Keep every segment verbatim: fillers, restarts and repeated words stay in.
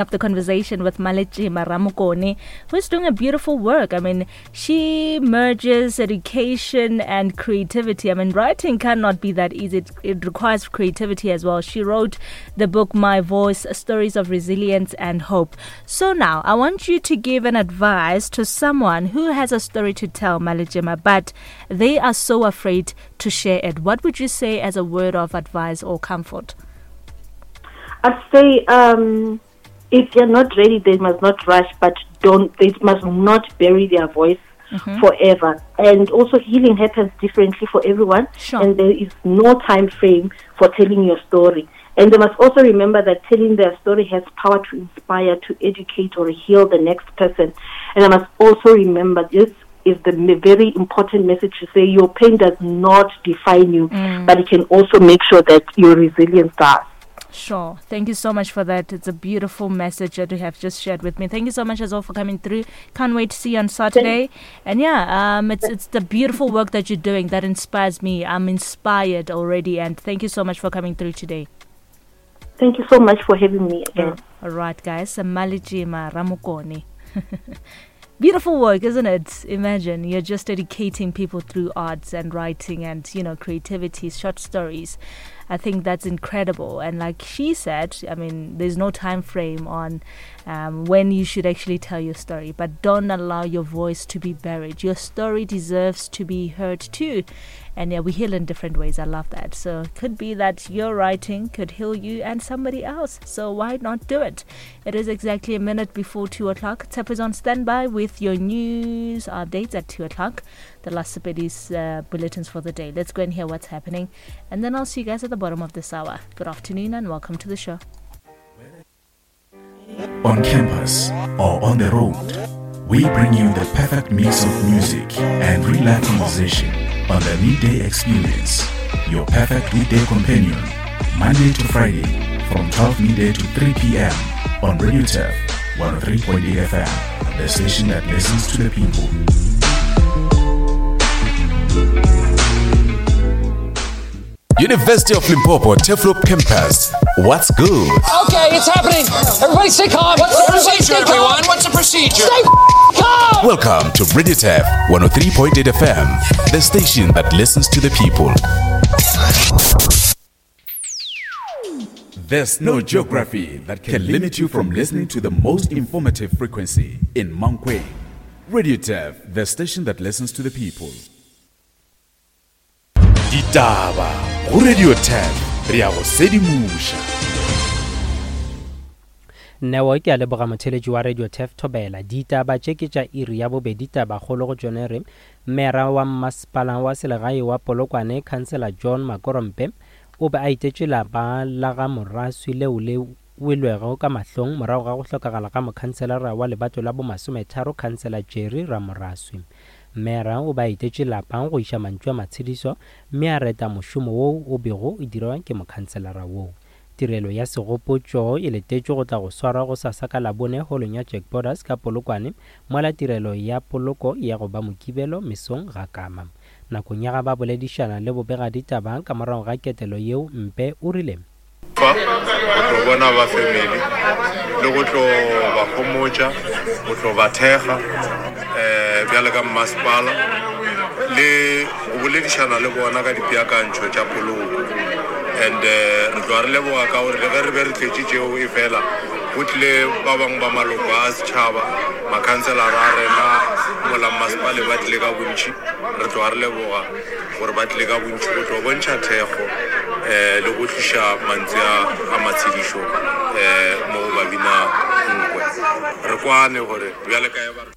Up the conversation with Maletjema Ramokone, who's doing a beautiful work. I mean, she merges education and creativity. I mean, writing cannot be that easy. It, it requires creativity as well. She wrote the book My Voice, Stories of Resilience and Hope. So now, I want you to give an advice to someone who has a story to tell, Maletjema, but they are so afraid to share it. What would you say as a word of advice or comfort? I'd say, um, if they're not ready, they must not rush, but don't. They must not bury their voice mm-hmm. forever. And also, healing happens differently for everyone, Sure. and there is no time frame for telling your story. And they must also remember that telling their story has power to inspire, to educate, or heal the next person. And I must also remember this is the very important message to say your pain does not define you, mm. but it can also make sure that your resilience does. Sure. Thank you so much for that. It's a beautiful message that you have just shared with me. Thank you so much as well for coming through. Can't wait to see you on Saturday. And yeah, um, it's, it's the beautiful work that you're doing that inspires me. I'm inspired already. And thank you so much for coming through today. Thank you so much for having me again. All right, guys. Maletjema Ramokone. Beautiful work, isn't it? Imagine you're just educating people through arts and writing and, you know, creativity, short stories. I think that's incredible. And like she said, I mean, there's no time frame on, um, when you should actually tell your story, but don't allow your voice to be buried. Your story deserves to be heard too. And yeah, we heal in different ways. I love that. So it could be that your writing could heal you and somebody else. So why not do it? It is exactly a minute before two o'clock. Tap is on standby with your news updates at two o'clock. The last Sepedi's, uh, bulletins for the day. Let's go and hear what's happening. And then I'll see you guys at the bottom of this hour. Good afternoon and welcome to the show. On campus or on the road, we bring you the perfect mix of music and real-life conversation on the Midday Experience, your perfect weekday companion, Monday to Friday from twelve midday to three p.m. on Radio Turf one oh three point eight F M, the station that listens to the people. University of Limpopo, Turfloop Campus. What's good? Okay, it's happening. Everybody stay calm. What's the Everybody procedure, stay calm. everyone? What's the procedure? Stay calm. Welcome to Radio Turf one oh three point eight F M, the station that listens to the people. There's no geography that can limit you from listening to the most informative frequency in Mankweng. Radio Turf, the station that listens to the people. Ditaba go Radio Turf, re a go sedimoša. Neo ke a leboga motheletši wa Radio Turf Thobela. Ditaba tše ke tša iri ya bobedi, tabakgolo go tšone re mera wa mmasepala wa selegae wa Polokwane, Councillor John Makorompe, o be a itetše lapa la ga Moraswi leo le welwego ka mahlong morago ga go hlokagala ga mokhanselara wa lebato la bomasometharo, Councillor Jerry Ramoraswi. Mera o ba itetše lapa go iša mantšu a matshediso mme a reta mošomo woo o bego o dirwa ke mokhanselara woo. Tirelo ya segopotšo e letetšwe go tla go swarwa gosasa ka Labone holong ya Jack Borders ka Polokwane, mola tirelo ya poloko ya go ba Mokibelo mesong ga Kama. Nakong ya ga ba boledišana le bobegaditaba ka morago ga ketelo yeo, Mpe o rile fa go tlo bona ba family le go tlo ba homotša, go tlo ba thekga, eh, bjale ka mmasepala le go boledišana le bona ka dipeakantšho tša poloko. And, eh, re tloga re leboga ka gore le ge re be re tletše tšeo e fela, go tlile ba bangwe ba maloko a setšhaba, makhanselara a rena mola mmasepala ba tlile ka bontši. Re tloga re leboga gore ba tlile ka bontši go tlo bontšha thekgo, eh, le go tliša mantswe a, a matshedišo, eh, mo go babina nkwe. Re kwane gore bjale ka e ba re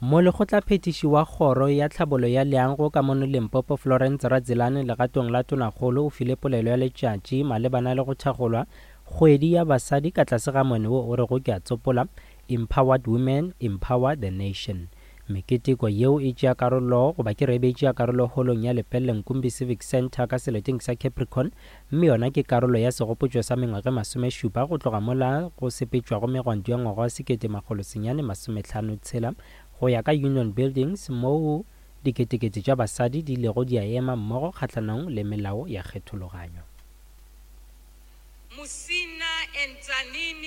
Molekgotlaphethiši wa kgoro ya tlhabolo ya leago ka mono Limpopo, Florence Radzilane, legatong la Tonakgolo, o file polelo ya letšatši malebana le go thakgolwa kgwedi ya basadi ka tlase ga mone wo o rego ke a tsopola, Empowered Women, Empower the Nation. Meketeko yeo e tšea karolo goba ke re e be e tšea karolo holong ya Lepelle Nkumbi Civic Centre ka seleteng sa Capricorn, mme yona ke karolo ya segopotšo sa mengwaga e masomešupa go tloga mola go sepetšwago megwanto ya ngwaga wa sekete makgolo senyane masomehlano tshela go ya ka Union Buildings, moo diketekete tša basadi di ilego di a ema mmogo kgahlanong le melao ya kgethologanyo. Musina and Tzaneen.